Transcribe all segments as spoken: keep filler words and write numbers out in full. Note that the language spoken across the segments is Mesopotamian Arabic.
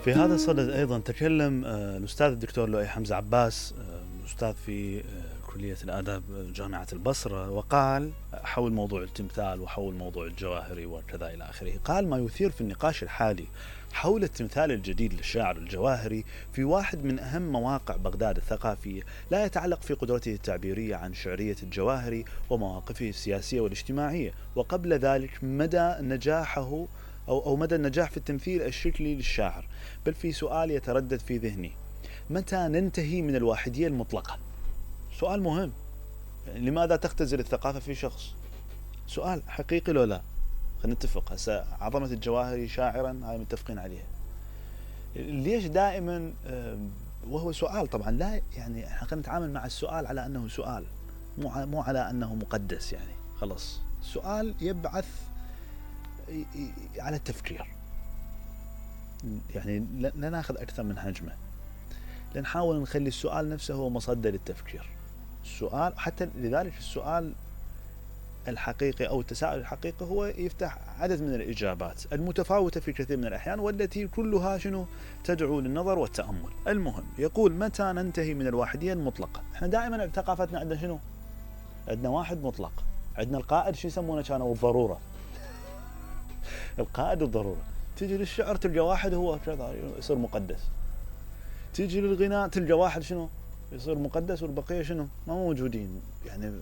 في هذا الصدد أيضا تكلم الأستاذ الدكتور لؤي حمزة عباس، أستاذ في كلية الآداب جامعة البصرة، وقال حول موضوع التمثال وحول موضوع الجواهري وكذا إلى آخره. قال: ما يثير في النقاش الحالي حول التمثال الجديد للشاعر الجواهري في واحد من أهم مواقع بغداد الثقافية لا يتعلق في قدرته التعبيرية عن شعرية الجواهري ومواقفه السياسية والاجتماعية، وقبل ذلك مدى نجاحه أو, أو مدى النجاح في التمثيل الشكلي للشاعر، بل في سؤال يتردد في ذهني: متى ننتهي من الواحدية المطلقة؟ سؤال مهم. يعني لماذا تختزل الثقافة في شخص؟ سؤال حقيقي لو لا؟ خلينا نتفق هسه عظمة الجواهري شاعرا، هاي متفقين عليها. ليش دائما وهو سؤال طبعا لا يعني احنا خلينا نتعامل مع السؤال على انه سؤال، مو مو على انه مقدس. يعني خلص السؤال يبعث على التفكير، يعني لا ناخذ اكثر من حجمه، لنحاول نخلي السؤال نفسه هو مصدر للتفكير. السؤال حتى لذلك السؤال الحقيقي أو التساؤل الحقيقي هو يفتح عدد من الإجابات المتفاوتة في كثير من الأحيان، والتي كلها شنو تدعو للنظر والتأمل. المهم يقول: متى ننتهي من الواحدية المطلقة؟ احنا دائما ثقافتنا عندنا شنو؟ عندنا واحد مطلق، عندنا القائد شو يسمونه كانوا الضرورة القائد والضرورة. تيجي للشعر تلقى واحد هو كذا يصير مقدس، تيجي للغناء تلقى واحد شنو يصير مقدس والبقية شنو ما موجودين. يعني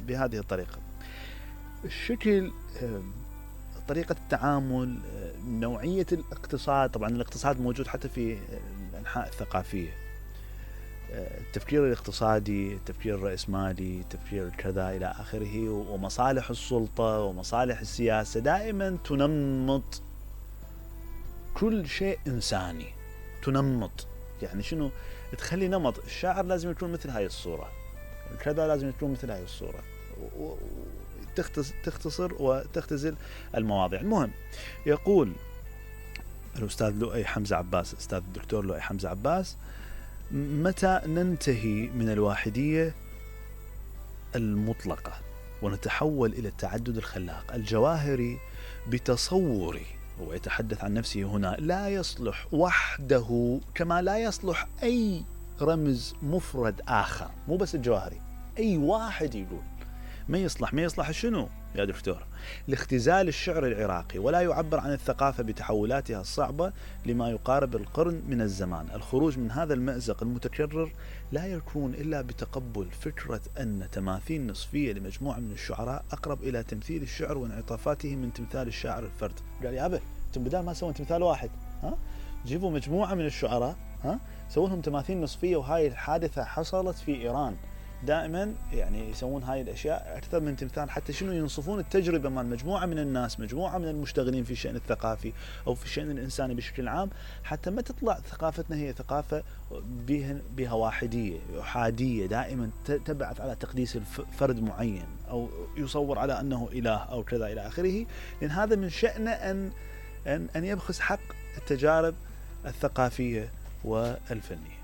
بهذه الطريقة الشكل، طريقة التعامل، نوعية الاقتصاد. طبعا الاقتصاد موجود حتى في الأنحاء الثقافية، التفكير الاقتصادي، التفكير الرأسمالي، التفكير كذا إلى آخره، ومصالح السلطة ومصالح السياسة دائما تنمط كل شيء إنساني. تنمط يعني شنو؟ تخلي نمط. الشاعر لازم يكون مثل هاي الصورة، كذا لازم يكون مثل هاي الصورة، تختصر وتختزل المواضيع. المهم يقول الأستاذ لؤي حمزة عباس، أستاذ الدكتور لؤي حمزة عباس: متى ننتهي من الواحدية المطلقة ونتحول إلى التعدد الخلاق؟ الجواهري بتصوري، هو يتحدث عن نفسه هنا، لا يصلح وحده كما لا يصلح أي رمز مفرد آخر. مو بس الجواهري، أي واحد يقول ما يصلح. ما يصلح شنو يا دكتور؟ لاختزال الشعر العراقي، ولا يعبر عن الثقافة بتحولاتها الصعبة لما يقارب القرن من الزمان. الخروج من هذا المأزق المتكرر لا يكون إلا بتقبل فكرة أن تماثيل نصفية لمجموعة من الشعراء أقرب إلى تمثيل الشعر وانعطافاته من تمثال الشاعر الفرد. قال: يا أبا انتم بدال ما تسوون تمثال واحد، ها جيبوا مجموعة من الشعراء، ها سووا لهم تماثيل نصفية. وهاي الحادثة حصلت في إيران. دائما يعني يسوون هاي الأشياء أكثر من تمثال، حتى شنو ينصفون التجربة مع مجموعة من الناس، مجموعة من المشتغلين في الشأن الثقافي أو في الشأن الإنساني بشكل عام، حتى ما تطلع ثقافتنا هي ثقافة بها, بها واحدية أحادية، دائما تبعث على تقديس فرد معين أو يصور على أنه إله أو كذا إلى آخره. لأن هذا من شأنه أن أن أن يبخس حق التجارب الثقافية والفنية.